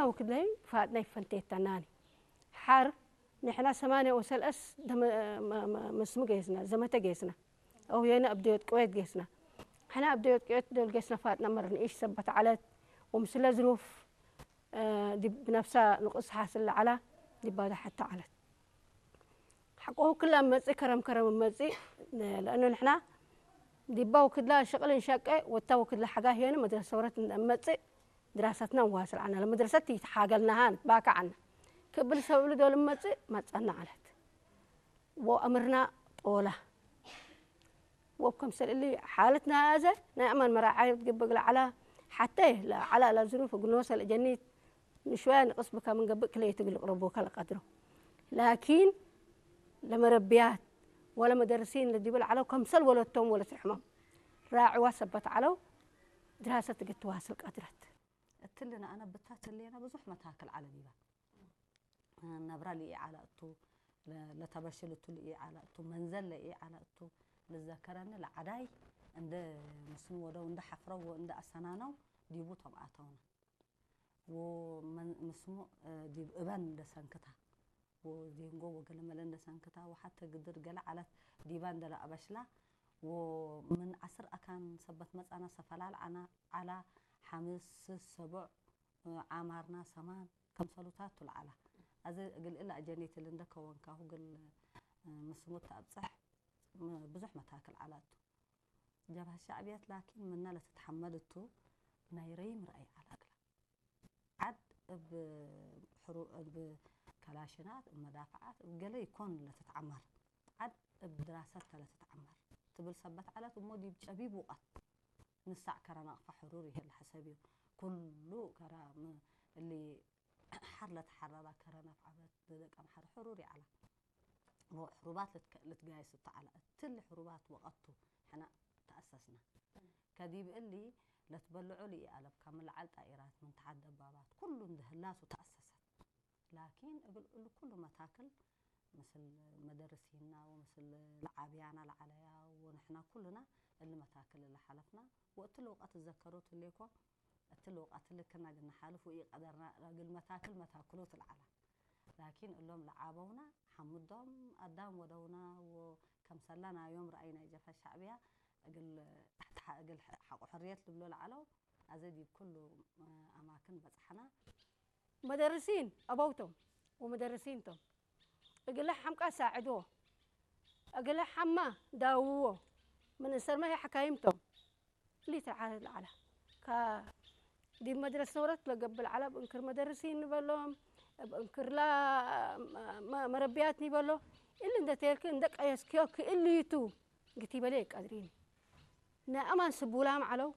ወክድለይ ፋጥና ይፈንቴተናኒ። ሓር ንሕና ሰማንያ ወሰልአስ ደመ-፣ መ-፣ መ-፣ መስሙ ገይስና፣ ዘመተ ገይስና። ኣው የነ ኣብ ደዮት ቅዌት ገይስና። ሕና ኣብ ደዮት ቅዌት ደል ገይስና ፋጥና መርንኢሽ ሰበት ዓለት ወምስለ ዝሩፍ፣ እ፣ ዲብ ብነፍሳ ንቕስ ሓስል ለዓላ ዲባዳ ሓታ ዓለት። ሓቆ ክላ መጽእ ከረም ከረም መጽእ፣ ነ-፣ ለእኑ ንሕና ዲባ ወክድላ ሽቕል እንሸቀ ወታ ወክድላ ሓጋ ሄነ መድረሰ ሰውረት መጽእ ድራሰትና ዋስል ዓና ለመድረሰት ይተሓገልናሃን ባካ ዓና ክብል ሰብሉ ዶል መጽእ መጸና ዓለት። ወአምርና ጦላ ወብ ከምሰል እሊ ሓለትና ያዘ ናይ አማን መራዓየት ግብግ ለዓላ ሓተ ለዓላ ለዝሩፍ እግኖ ሰል ጀኒት ንሽወያ ንቅስ ብካ ምን ገብእ ክለይ ትግል ቅረቦ ከለቀድሮ ላኪን ለመረብያት ወለ መደርሲን ለዲብል ዓለው ከምሰል ወለቶም ወለ ትርሕሞም ራዕዋ ሰበት ዓለው ድራሰት ትግትዋስል ቀድረት። እትልና ኣነ ብታት ሌና ብዙሕ መታክል ዓለ ዲባ ነብራ ልኢ ዓላ እቱ ለተበሽል እቱ ልኢ ዓላ እቱ መንዘል ለኢ ዓላ እቱ ልዘከረኒ ለዓዳይ እንደ ምስኑ ወደው እንደ ሓፍረው እንደ ኣሰናነው ዲቡ ቶም ኣተውና። ወመን-፣ ምስሙ፣ እ፣ ዲብ እበን እንደ ሰንክታ፣ ወዜንጎ ወገለመለ እንደ ሰንክታ፣ ወሓተ ግድር ገለ ዓለት ዲባ እንደ ለአበሽላ፣ ወምን ዓስር አካን ሰበት መጻና ሰፈላል ዓና፣ ዓላ፣ ሓምስ፣ ሰቡዕ፣ እ፣ ዓማርና፣ ሰማን፣ ከምሰሉታት ቱል ዓላ። አዘ እግል እላ አጀኔትል እንደ ከወንካሁ ግል፣ እ፣ ምስሙ ተአብጽሕ፣ ም-፣ ብዙሕ መታክል ዓላቱ። ጀብሃ ሻዕብያት ላኪን ምና ለትትሐመድ እቱ ናይ ረይም ረአይ ዓላ እግላ። ዓድ እብ ሕሩ-፣ እብ ከላሽናት፣ እብ መዳፍዓት፣ እብ ገለ ይኮን ለትትዓመር። ዓድ እብ ድራሰት ተ ለትትዓመር። ትብል ሰበት ዓለት እሞ ዲብ ጨቢብ ውቀት ንሳዕ ከረ ናቅፋ ሕሩር ይህል ሐሰብዩ። ኩሉ ከረ ም-፣ እሊ ሐር ለተሐረረ ከረ ነፍዓበት ለደቀምሐር ሕሩር ይዓላ። ወሕሩባት ልትከ-፣ ልትጋየስ እተዓላ። እትሊ ሕሩባት ወቀቱ ሕና ተአሰስና። ከዲብ እሊ ለትበልዖ ልኢአለብካ ምን ለዓል ጣኢራት ምን ተሓት ደባባት ኩሉ እንድህላሱ ተአሰሰት። ላኪን እብል እሉ ኩሉ መታክል ምስል መደርሲና ወምስል ለዓብያና ለዓለያ ወንሕና ኩልና እሊ መታክል ለሓለፍና ወእትሊ ውቀት እዘከሮ ትሌኮ እትሊ ውቀት ልክና ግን ንሓልፍ ወኢቀደርና እግል መታክል መታክሎ ትልዓላ። ላኪን እሎም ለዓበውና ሓምዶም አዳም ወደውና ወከምሰላ ናዮም ረአይ ናይ ጀብሀት ሻዕብያ እግል ተሕት ሐ-፣ እግል ሐ-፣ ሐቆ ሕርየት ልብሎ ለዓለው አዘ ዲብ ኩሉ አማክን በጽሐና። መደርሲን አበውቶም ወመደርሲን ቶም እግለ ሐምቃ ሳዕድዎ እግለ ሐማ ዳውዎ ምን እሰርመ ሕካይም ቶም። ሊትር ዓለ ለዓላ ካ ዲብ መድረስ ሰውረት ለገብእ ለዓላ እብ እንክር መደርሲን ንበሎም እብ እንክርላ መ-፣ መረብያት ኒበሎ እሊ እንደ ቴልክ እንደ ቀየስክዮ ክእልይቱ ግቲበለ የቀድሪኒ። ናይ አማን ስቡላም ዓለው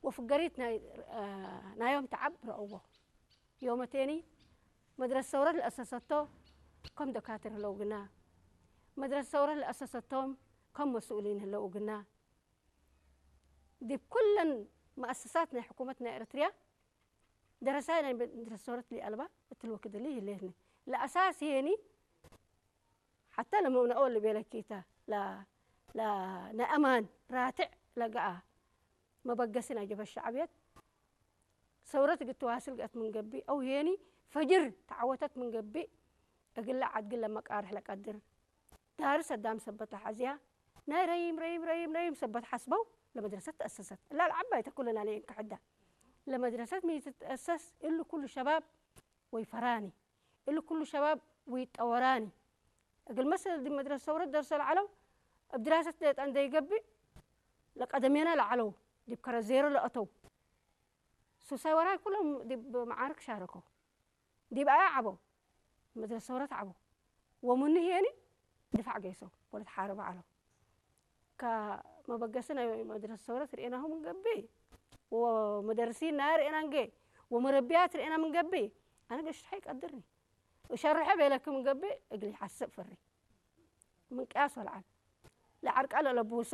ወፍገሪት ናይ፣ አ፣ ናዮም ተዓብ ረአዎ። ዮመቴኒ መድረስ ሰውረት ለአሰሰቶ ከም ደካትር ህለው ግና መድረስ ሰውረት ለአሰሰቶም ከም መስኡሊን ህለው ግና ዲብ ኩለን መአሰሳት ናይ ሕኩመት ናይ ኤረትርያ ደረሳይ ናይ መድረስ ሰውረት ሊአልባ እትልወክድሊ ይህሌትኒ። ለአሳስ የኒ ሓታ ለመውነኦ ልቤለኪታ ለ-፣ ለ-፣ ለአማን ራትዕ ለገአ መበገሲ ናይ ጀበ ሻዕብየት ሰውረት እግል ትዋስል ገአት ምን ገብእ አው ሄኒ ፈጅር ተዓወተት ምን ገብእ እግለ ዓድግን ለመቃርሕ ለቀድር ዳርስ አዳም ሰበት ለሐዝያ ናይ ረይም ረይም ረይም ረይም ሰበት ሐስበው ለመድረሰት ተአሰሰት። እላ ለዓባይ ተኩለና ለየንክሕዳ ለመድረሰት ሚ ትትአሰስ እሉ ኩሉ ሸባብ ወይፈራኒ እሉ ኩሉ ሸባብ ወይጠወራኒ። እግል መሰል ዲብ መድረሰ ሰውረት ደርሰ ለዓለው እብ ድራሰት ሌጣ እንደ ይገብእ ለቀደሜና ለዓለው ዲብ ከረ ዜሮ ለአተው ሱሳይ ወራይ ኩሎም ዲብ መዓርክ ሻረከው። ዲብ አያ ዓበው መድረሰ ሰውረት ዓበው ወምኑ ህየኒ ድፋዕ ገይሰው ወለት ሓረብ ዓለው። ከመበገሲ ናይ መድረሰ ሰውረት ርኤናሁ ምን ገብእ ወመደርሲን ናይ ርኤና እንጌ ወመረቢያት ርኤና ምን ገብእ አነ ገሽትሐ ይቀድርኒ እሸርሐ ቤለክ ምን ገብእ እግል ይሓስብ ፍሪ ምን ቅያስ ወልዓል ለዓርቃ ለለብውሶ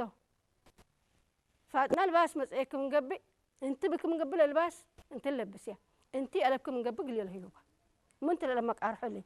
ፋጥና ልባስ መጽኤክ ምን ገብእ እንቲ ብክ ምን ገብእ ለልባስ እንቲ ለብስያ እንቲ አለብክ ምን ገብእ ግልዮ ለህዩባ ምንት ለለመቃርሖ እሊ